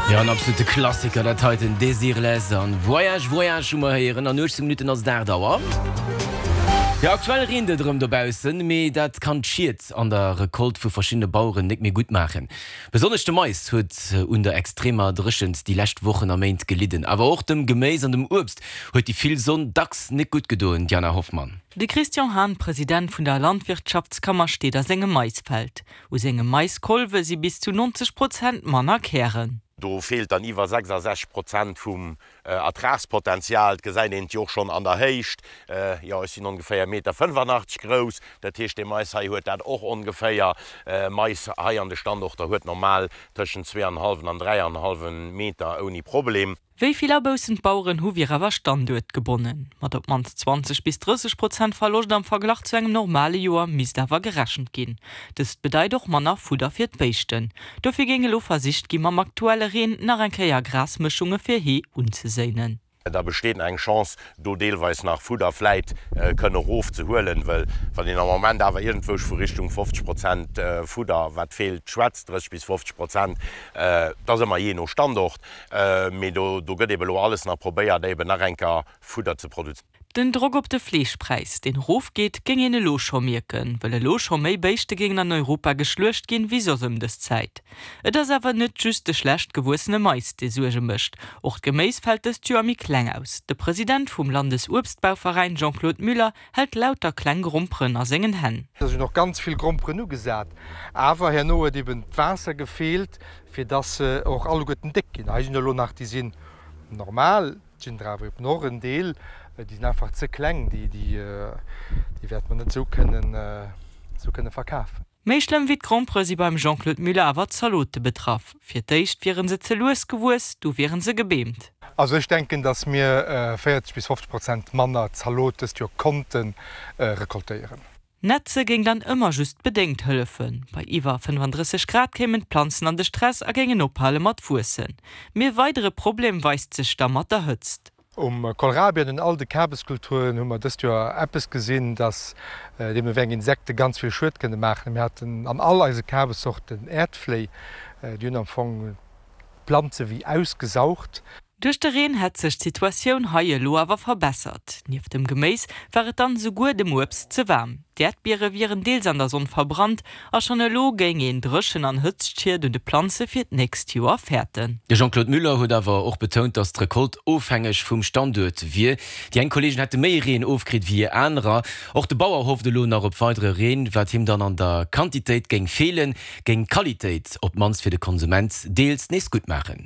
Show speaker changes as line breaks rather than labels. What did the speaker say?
Jo, en absolute Klassiker dat heiten, Desireless an Voyage Voyage hu mer héieren. An 18 Minutten ass et 8 Auer. Jo, aktuell reent et erëm dobaussen, mee dat kann d'Schied an der Recolte vu verschiddene Baueren net méi gutt maachen. Besonnesch de Mais huet un der extremer Dréchent déi lescht Wochen a Méint gelidden. Awer och dem Geméis an dem Uebst huet déi vill Sonn dacks net gutt gedoen, Diana Hoffmann.
De Christian Hahn, President vun der Landwirtschaftskammer, steet a sengem Maisfeld. U senge Maiskolwe si bis zu 90 Prozent manner Kären.
Do feelt dann iwwer 66 Prozent vum Ertragspotenzial. Et gesäit een et jo och schonn an der Héicht. Jo, ech sinn ongeféier Meter 85 grouss, dat heescht, dee Mais hei huet dat och ongeféier. Mais hei an de Standorter huet normal tëschent zweeanenhallwen an dräianenhallwe Meter ouni Problem.
Wéi vill Aboussen d'Baueren hu wier awer standuertgebonnen. Mat op d'mannst 20 bis 30 Prozent Verloscht am Verglach zu engem normale Joer misst awer gerechent ginn. Dëst bedeit och manner Fudder fir d'Béischten. Dofir géing elo versicht gi mam aktuelle Reen nach eng Kéier Grasmëschunge fir Hee unzeséinen.
Da besteet nach eng Chance, do deelweis nach Fudder vläit kënne erof ze huelen, well wann een am Moment awer iergendwousch vu Richtung 50 Prozent Fudder, wat feelt, schwätzt, 30 bis 50 Prozent, dat ass ëmmer jee no Standort, Mee do gëtt eben elo alles nach probéiert, eben nach eng Kéier Fudder ze produzéieren.
Den Drock op de Fleeschpräis, deen erofgeet, géing een elo scho mierken, wëll elo scho méi Béischte géingen an Europa geschluecht ginn, wéi soss ëm dës Zäit. Et ass awer net just de schlecht gewuessene Mais, dee Suerge mécht. Och d'Geméis fält dëst Joer méi kleng aus. De President vum Landesuebstbauveräin Jean-Claude Muller hält lauter kleng Gromperen a sengen Hänn.
Da sinn och ganz vill Gromperen ugesat, awer herno huet eben d'Waasser gefeelt, fir dass se och alleguerten déck ginn. Hei sinn elo nach, déi sinn normal, et sinn der awer eben och en Deel, déi sinn einfach ze kleng, déi, déi wäerte mer net esou kënnen, esou kënne verkafen.
Méi schlëmm wéi d'Grompere si beim Jean-Claude Muller awer d'Zalote betraff. Fir d'éischt wiere se ze lues gewuess, du wiere se gebeemt.
Also ech denken, dass mir 40 bis 50 Prozent manner Zalot dëst Joer konnte recoltéieren.
Nätze géing dann ëmmer just bedéngt hëllefen. Bei iwwer 35 Grad kéimen d'Planzen an de Stress a géingen ophale mat wuessen. Mee e weidere Problem weist sech da mat der Hëtzt.
Um Kohlrabi an un all de Kabeskulturen hu mer dëst Joer eppes gesinn, dass deemno wéi eng Insekte ganz vill Schued kënne maachen. Mir haten an all eise Kabessorten Äerdfléi, déi hunn am Fong d'Planze wéi ausgesaugt.
Duerch de Reen hätt sech d'Situatioun hei elo awer verbessert. Nieft dem Geméis war et dann esouguer dem Uebst ze waarm. D'Äerdbiere wieren deels an der Sonn verbrannt a schonn elo géing een Dréchen an Hëtztschied un de Planze fir d'nächst Joer fäerten.
De Jean-Claude Muller huet awer och betount, datt d'Recolte ofhängeg vum Standuert wier. Déi eng Kolleegen hätte méi Reen ofkritt wéi anerer. Och de Bauer hofft elo nach op weidere Reen, wat him dann an der Quantitéit géing feelen, géing d'Qualitéit, op d'mannst fir de Konsument, deels nees gutt maachen.